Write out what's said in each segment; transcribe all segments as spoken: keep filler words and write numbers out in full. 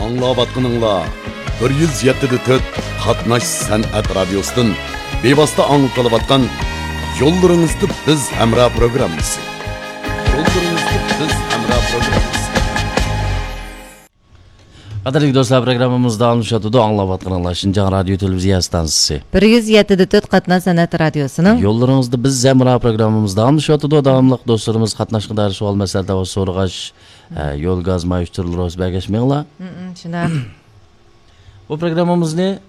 ئاڭلاۋاتقىنىڭلار بىر يۈز يەتتە دە تۆت قاتناش سەنئەت رادىيوسىدىن بىۋاسىتە ئاڭلىتىلىۋاتقان يوللىرىڭىزدا بىز ھەمراھ پروگراممىسى. يوللىرىڭىزدا بىز ھەمراھ پروگراممىسى. قەدىرلىك دوستلار، پروگراممىمىز داۋاملىشىۋاتىدۇ. ئاڭلاۋاتقىنىڭلار شىنجاڭ رادىيو تېلېۋىزىيە ئىستانسىسى. بىر يۈز يەتتە دە تۆت قاتناش سەنئەت رادىيوسىنىڭ يوللىرىڭىزدا بىز ھەمراھ پروگراممىمىز داۋاملىشىۋاتىدۇ. داۋاملىق دوستلىرىمىز قاتناشقا دائىر سوئال، مەسىلە، دەۋا سورىغاچ، ئە، يول، گاز، ماي ئۇچۇرلىرى بولسا بەرگەچ مېڭىڭلار. مم، شۇنداق. بۇ پروگراممىمىزنى،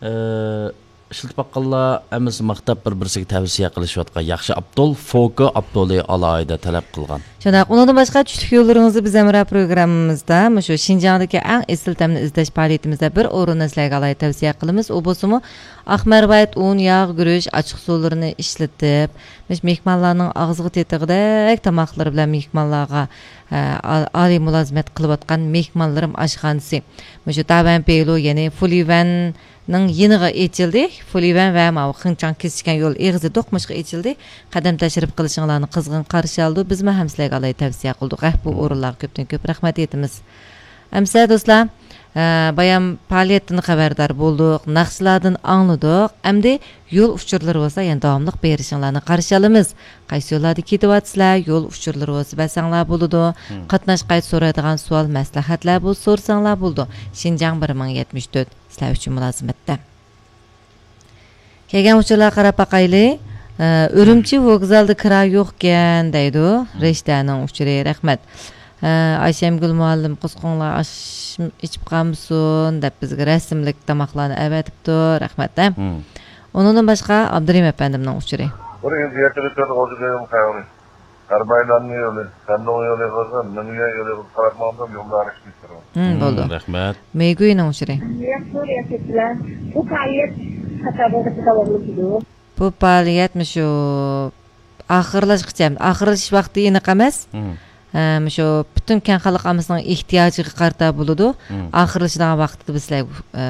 ئە، ئىشلىتىپ باققانلار ھەممىسى ماختاپ، بىر-بىرسىگە تەۋسىيە قىلىشىۋاتقان ياخشى ئاپتول، فوكا ئاپتولى ئالاھىدە تەلەپ قىلغان. شۇنداق، ئۇنىڭدىن باشقا چۈشلۈك يوللىرىڭىزدا بىز ھەمراھ پروگراممىمىزدا مۇشۇ شىنجاڭدىكى ئەڭ ئېسىل تەمنى ئىزدەش پائالىيىتىمىزدە بىر ئورۇننى سىلەرگە ئالاھىدە تەۋسىيە قىلىمىز. ئۇ بولسىمۇ ئاق مەرۋايىت، ئۇن، ياغ، گۈرۈچ، ئاچچىق سۇلىرىنى ئىشلىتىپ، مۇشۇ مېھمانلارنىڭ ئاغزىغا تېتىغۇدەك تاماقلىرى بىلەن مېھمانلارغا، ئە، ئا-، ئالىي مۇلازىمەت قىلىۋاتقان مېھمانلىرىم ئاشخانىسى. مۇشۇ تاۋەن پېيلۇ، يەنى فۇليۈەننىڭ يېنىغا ئېچىلدى. فۇليۈەن ۋە ماۋۇ خېڭچاڭ كېسىشكەن يول ئېغىزى دوقمۇشقا ئېچىلدى. قەدەم تەشرىپ قىلىشىڭلارنى قىزغىن قارشى ئالىدۇ. بىزمۇ ھەم سىلەرگە ئالاھىدە تەۋسىيە قىلدۇق. ھە، بۇ ئورۇنلارغا كۆپتىن كۆپ رەھمەت ئېيتىمىز. ئەمسە دوستلار، ئە، بايام پائالىيەتتىن خەۋەردار بولدۇق، ناخشىلاردىن ئاڭلىدۇق. ئەمدى يول ئۇچۇرلىرى بولسا يەنە داۋاملىق بېرىشىڭلارنى قارشى ئالىمىز. قايسى يوللاردا كېتىۋاتىسىلەر؟ يول ئۇچۇرلىرى بولسا بەرسەڭلار بولىدۇ. مم. قاتناش قايتا سورايدىغان سوئال، مەسلىھەتلەر بولسا سورىساڭلار بولىدۇ. شىنجاڭ بىر مىڭ يەتمىش تۆت، سىلەر ئۈچۈن مۇلازىمەتتە. كەلگەن ئۇچۇرلارغا قاراپ باقايلى. ئە، ئۈرۈمچى ۋوگزالدا كىرا يوقكەن دەيدۇ. مم. رىشتەنىڭ ئۇچۇرى، رەھمەت. ئە، ئايشەمگۈل مۇئەللىم، قۇسقۇڭلار ئاش ئىچىپ قالمىسۇن دەپ بىزگە رەسىملىك تاماقلارنى ئەۋەتىپتۇ. رەھمەت، ھە. مم. ئۇنىڭدىن باشقا ئابدۇرېھىم ئەپەندىمنىڭ ئۇچۇرى. بۇنى ئىزدىيەتلىرى تۆت غوجىدىن خەۋىرى. ئەربايلاننىڭ يولى، سەندۇڭ يولى قىلسا، مېنىڭ يولى قىلسا قاراپ ماڭدىم، يولدا ئارىشىپ كېتىدۇ. مم، بولدى. مم، رەھمەت. مېيگۇينىڭ ئۇچۇرى. ياخشى، ياخشى. بۇ پائالىيەت قاچانغىچە داۋاملىشىدۇ؟ بۇ پائالىيەت مۇشۇ ئاخىرلاشقىچە، ئاخىرلىشىش ۋاقتى ئېنىق ئەمەس. مم. ئە، مۇشۇ پۈتۈن كەڭ خەلق ئاممىسىنىڭ ئېھتىياجىغا قارىتا بولىدۇ. مم. ئاخىرلىشىدىغان ۋاقتىدا بىز سىلەرگە، ئە،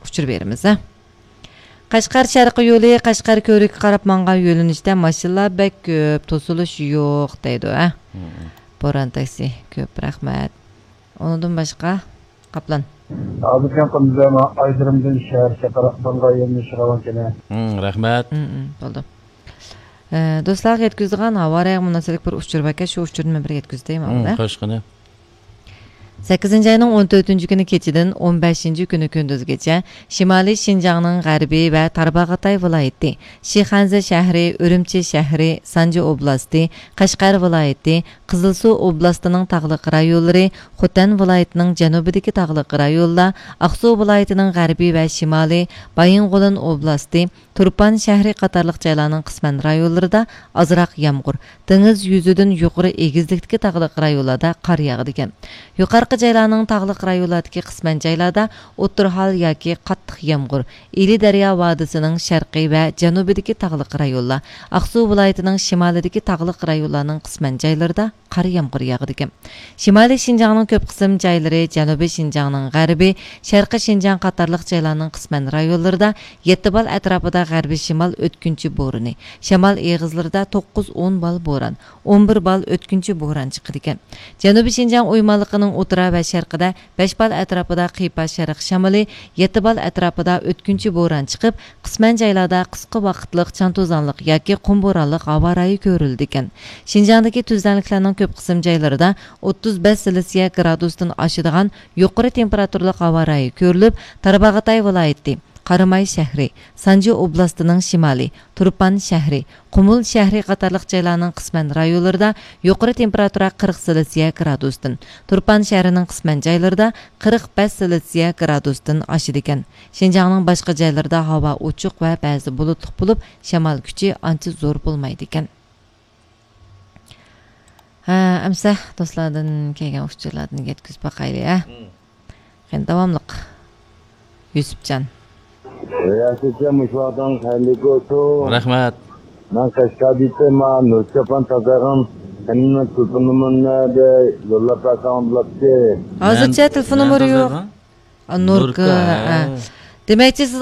ئۇچۇر بېرىمىز، ھە. قەشقەر شەرقىي يولى، قەشقەر كۆۋرۈككە قاراپ ماڭغان يۆنىلىشتە ماشىنىلار بەك كۆپ، توسۇلۇش يوق دەيدۇ، ھە. مم. بوران تاكسى، كۆپ رەھمەت. ئۇنىڭدىن باشقا، قاپلان. ھازىرچە قۇندۇزلارنىڭ ئايدىرىمدىن شەھەر چاتاق بىرغا يۆنىلىشىگە راۋان كېلە. مم، رەھمەت. مم، مم، بولدى. ئە، دوستلارغا يەتكۈزىدىغان ھاۋا رايىغا مۇناسىۋەتلىك بىر ئۇچۇر باركەن، شۇ ئۇچۇرنى مەن بىر يەتكۈزدەي، مم، ماۋۇدا. خوش، قېنى. سەككىزىنچى ئاينىڭ ئون تۆتىنچى كۈنى كېچىدىن ئون بەشىنچى كۈنى كۈندۈزگىچە شىمالىي شىنجاڭنىڭ غەربى ۋە تارباغاتاي ۋىلايىتى، شىخەنزە شەھىرى، ئۈرۈمچى شەھىرى، سانجى ئوبلاستى، قەشقەر ۋىلايىتى، قىزىلسۇ ئوبلاستىنىڭ تاغلىق رايونلىرى، خوتەن ۋىلايىتىنىڭ جەنۇبىدىكى تاغلىق رايونلار، ئاقسۇ ۋىلايىتىنىڭ غەربى ۋە شىمالى، بايىنغولىن ئوبلاستى، تۇرپان شەھىرى قاتارلىق جايلارنىڭ قىسمەن رايونلىرىدا ئازراق يامغۇر، دېڭىز يۈزىدىن يۇقىرى ئېگىزلىكتىكى تاغلىق رايونلاردا قار ياغىدىكەن. يۇقارقى جايلارنىڭ تاغلىق رايونلاردىكى قىسمەن جايلاردا ئوتتۇرا ھال ياكى قاتتىق يامغۇر، ئىلى دەريا ۋادىسىنىڭ شەرقىي ۋە جەنۇبىدىكى تاغلىق رايونلار، ئاقسۇ ۋىلايىتىنىڭ شىمالىدىكى تاغلىق رايونلارنىڭ قىسمەن جايلىرىدا قار يامغۇر ياغىدىكەن. شىمالىي شىنجاڭنىڭ كۆپ قىسىم جايلىرى، جەنۇبىي شىنجاڭنىڭ غەربى، شەرقىي شىنجاڭ قاتارلىق جايلارنىڭ قىسمەن رايونلىرىدا يەتتە بال ئەتراپىدا غەربىي شىمال ئۆتكۈنچى بورىنى، شامال ئېغىزلىرىدا توققۇز ئون بال بوران، ئون بىر بال ئۆتكۈنچى بوران چىقىدىكەن. جەنۇبىي شىنجاڭ ئويمانلىقىنىڭ ئوتتۇرا ۋە شەرقىدە بەش بال ئەتراپىدا قىيپاش شەرق شامىلى، يەتتە بال ئەتراپىدا ئۆتكۈنچى بوران چىقىپ، قىسمەن جايلاردا قىسقا ۋاقىتلىق چاڭ توزانلىق ياكى قۇم بورانلىق ھاۋا رايى كۆرۈلىدىكەن. شىنجاڭدىكى تۈزلەڭلىكلەرنىڭ كۆپ قىسىم جايلىرىدا ئوتتۇز بەش سېلسىيە گرادۇستىن ئاشىدىغان يۇقىرى تېمپېراتۇرىلىق ھاۋا رايى كۆرۈلۈپ، تارباغاتاي ۋىلايىتى، قاراماي شەھىرى، سانجى ئوبلاستىنىڭ شىمالى، تۇرپان شەھىرى، قۇمۇل شەھىرى قاتارلىق جايلارنىڭ قىسمەن رايونلىرىدا يۇقىرى تېمپېراتۇرا قىرىق سېلسىيە گرادۇستىن، تۇرپان شەھىرىنىڭ قىسمەن جايلىرىدا قىرىق بەش سېلسىيە گرادۇستىن ئاشىدىكەن. شىنجاڭنىڭ باشقا جايلىرىدا ھاۋا ئوچۇق ۋە بەزى بۇلۇتلۇق بولۇپ، شامال كۈچى ئانچە زور بولمايدىكەن. ھە، ئەمسە دوستلاردىن كەلگەن ئۇچۇرلاردىن يەتكۈزۈپ باقايلى، ھە؟ مم. قېنى، داۋاملىق. يۈسۈپجان. رىياسەتچان، مۇشۇ ۋاقتىڭىز خەيرلىك بولسۇن. رەھمەت. مەن قەشقەردىن، ما نۇرچاپان تازاغان، سېنىڭ تېلېفون نومۇرۇڭنى يوللاپ بەرسەڭ بولاتتى. ھازىرچە مەن، تېلېفون مەن نومۇرى يوق. تازاغان؟ ئا، نۇركا، نۇركا، ھە. ھە. دېمەكچى، سىز